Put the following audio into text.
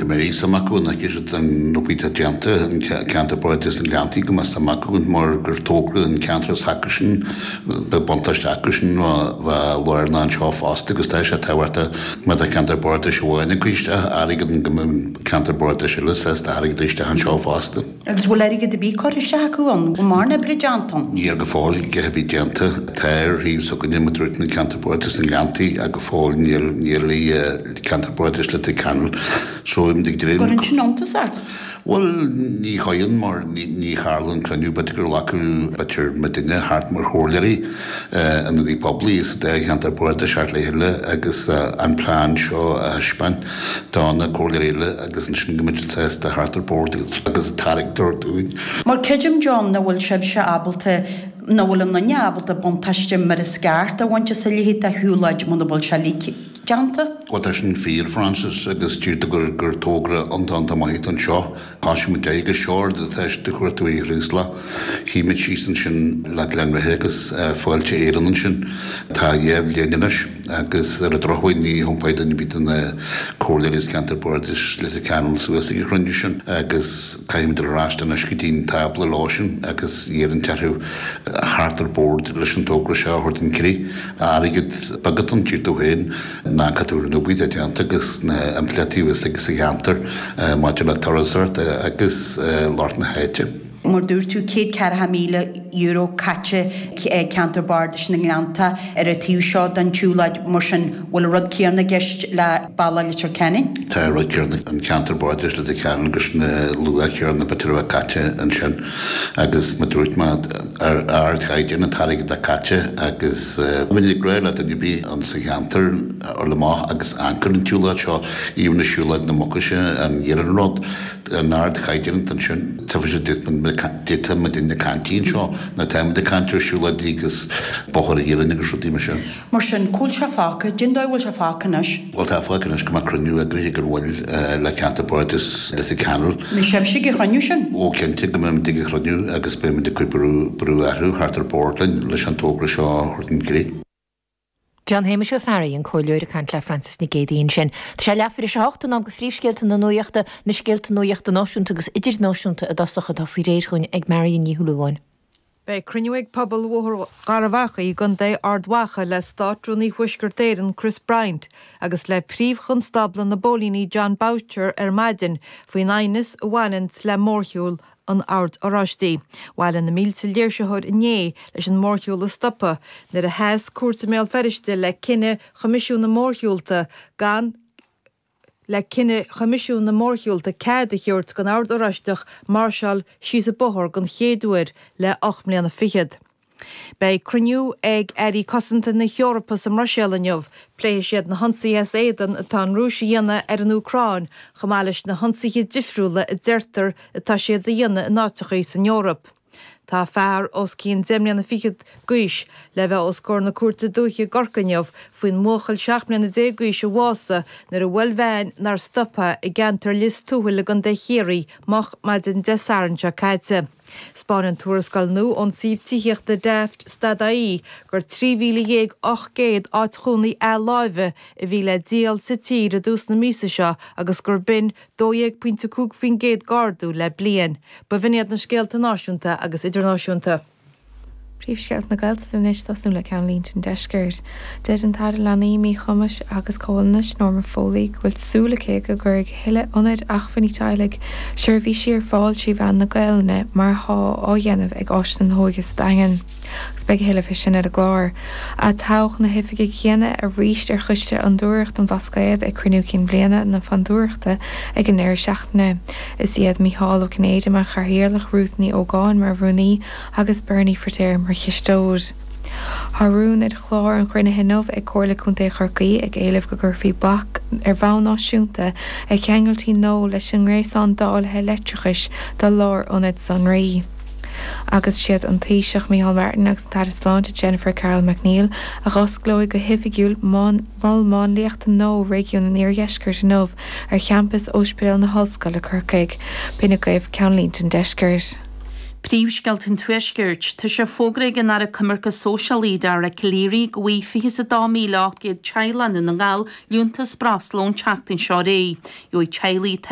Go mbeidh suim acu an bhfeicfidh siad an obair atá déanta, an ceantar bardais na nGleanntaí, go mbeidh suim acu mar gur togra an ceantar s'acusan, beidh buntáiste acusan bheith lárnach anseo fosta agus tá sé tábhachtach má tá ceantar bardais amháin ag cur isteach airgead go mbeidh ceantar bardais eile sásta airgead a isteach anseo fosta. Agus bhfuil airgead ar bith curtha isteach acu ann? Bhfuil mórán oibre déanta ann? Níl go fóill a dhath ar bith déanta. Tá ar thaobh s'againne mar dúirt na ceantar bardais na nGleanntaí ach go fóill níl níl i ceantar bardais Leitir Ceanainn. So ag dréim. Cuireann sin iontas ort? Bhuel ní chuireann mar ní tharla an cruinniú b'fhéidir gur ghlacadh b'fhéidir muidinne thart mar chomhairleoirí ionadaí poiblí sa dá cheantar bardais thart le chéile agus an plean seo a thaispeáint do na comhairleoirí eile agus ansin go mbeidh siad sásta theacht ar bord agus tarraingt dúinn. Mar creidim, John, nach bhfuil sibhse ábalta, nach bhfuil aon duine ábalta buntáiste mar is ceart a bhaint as a leithéid de shiúlóid muna bhfuil sé uilig déanta. Bhuel tá sin fíor, Frances, agus deir tú gur gur togra iontach iontach maith atá anseo. Thosaigh muid agus seo rud atá de chuartú Uí Chraoslaigh. Shuigh muid síos ansin le Gleann Bheithe agus Fáilte Éireann ansin. Tá dhá bhliain anois agus ar an drochuair ní thiompóidh duine ar bith de na comhairleoirí as ceantar Bardais Leitir Ceanainn suas ag an chruinniú sin agus caithfidh muid dul ar ais anois go dtí an tábla leo sin agus iarraidh orthu theacht ar bord leis an togra seo a thabhairt chun críche. Airgead beag atá ann, deir tú féin. ná cad an obair atá déanta agus na impleachtaí a bheas aige sa cheantar maidir le turasóireacht agus lucht na háite. Mar dúirt tú, €140,000 caite ag Ceantar Bardais na nGleannta ar an taobh seo den tsiúlóid, mar sin bhfuil an rud céanna i gceist le bealach Leitir Ceanainn? Tá an rud céanna, an Ceantar Bardais Leitir Ceanainn agus na luach céanna b'fhéidir a bheith caite ansin agus mar dúirt mé, ar ardchaighdeán an t-airgead atá caite agus bheinn ag rá le duine ar bith ann sa cheantar a dhul amach agus amharc ar an tsiúlóid seo, even na siúlóid na Mucaise, an iarnród, an ardchaighdeán atá ansin. Tuigfidh siad duit muidinne ag caint anseo, ná táimid ag caint ar siúlóidí agus bóthar iarainn agus rudaí mar sin. Mar sin, cá bhfuil sé fágtha? Cén dóigh a bhfuil sé fágtha anois? Bhuel, tá fágtha anois go mbeidh cruinniú eagraithe ag an mhoill le Ceantar Bardais Leitir Ceanainn. An mbeidh sibhse ag an chruinniú sin? Ó, cinnte go mbeimid ag an chruinniú agus beimid ag cur brú brú orthu theacht ar bord linn leis an togra seo a thabhairt chun críche. John Shéamais Ó Fearraigh, an Comhairleoir ag caint le Frances Nic Géadaigh ansin. Tá sé leathuair tar éis a hocht, in am do phríomhscéalta na nuachta, na scéalta nuachta náisiúnta agus idirnáisiúnta i dtosach atá faoi réir chugainn ag Marion Ní Shúilleabháin. Beidh cruinniú ag pobal Bhóthar Gharbh Achaidh i gContae Ard Mhacha le Státrúnaí Thuaisceart Éireann Chris Bryant agus le Príomh-Chonstábla na bPóilíní Jon Boutcher ar maidin faoin aighneas a bhaineanns le mórshiúl an Oird Oráistigh. Bhailigh na mílte léirsitheoir inné leis an mórshiúl a stopadh nuair a sheas cúirt i mBéal Feirste le cinneadh Choimisiún na Mórshiúlta gan le cinneadh Choimisiún na Mórshiúlta cead a thabhairt don Ord Oráisteach máirseáil síos an bóthar den chéad uair le 8 mbliana fichead. Beidh cruinniú ag Airí Cosanta na hEorpa sa mBruiséil inniu. Pléifidh siad na hionsaithe as éadan atá an Rúis a dhéanamh ar an Úcráin chomh maith leis na hionsaithe difriúla a deirtear atá siad a dhéanamh in áiteachaí san Eoraip. Tá fear os cionn deich mbliana fichead d'aois le bheith os comhair na Cúirte Dúiche i gCorcaigh inniu faoin mbuachaill 17 mbliana d'aois a bhásaigh nuair a bhuail veain nár stop i gceantar Lios Tuathail i gContae Chiarraí moch maidin Dé Sathairn seo caite. 'Spáineann tuarascáil nua ón suíomh tithíochta Daft stad-IE gur 13,800 áit chónaí athláimhe a bhí le díol sa tír i dtús na míosa seo agus gur b'in 12.5% d'ardú le bliain. B'in iad na scéalta náisiúnta agus idirnáisiúnta. Príomhscéalta na Gaeltachta anois, tosnú le ceannlínte an deiscirt. Deir an tAire Leanaí, Míchumais agus Comhionannais, Norma Foley, go bhfuil súil aici go gcuirfidh a thuilleadh ionaid acmhainní teaghlaigh seirbhísí ar fáil trí mheán na Gaelainne mar atá á dhéanamh ag Áiseanna na hÓige sa Daingean. Agus beidh a thuilleadh faoi sin ar an gclár. Atoghadh na hoifigigh chéanna arís ar Choiste Fhondúireacht an Bhlascaoid ag cruinniú cinn bhliana na Fondúireachta ag an ndeireadh seachtaine. Is iad Mícheál Ó Cinnéide mar chathaoirleach, Ruth Ní Ógáin mar rúnaí agus Bernie Firtéar mar chisteoir. Tá rún ar chlár an chruinnithe inniu ag Comhairle Contae Chorcaí ag éileamh go gcuirfí bac ar bhonn náisiúnta ar cheangailtí nua leis an ngréasán dáilithe leictreachais do lárionaid sonraí. Agus siad an Taoiseach Micheál Martin agus an tAire Sláinte Jennifer Carroll MacNeill a dh'osclóidh go hoifigiúil Mol Máinliachta nua Réigiún an Iardheiscirt inniu ar champas Ospidéal na hOllscoile, Corcaigh. B'in agaibh ceannlínte an deiscirt. Príomhscéalta an Tuaiscirt. Tá sé fógartha ag an Aire Coimirce Sóisialaí, Dara Calleary, go bhfaighidh 22,800 teaghlach i nDún na nGall liúntas breosla ón tseachtain seo ar aghaidh. Gheobhaidh teaghlaigh atá.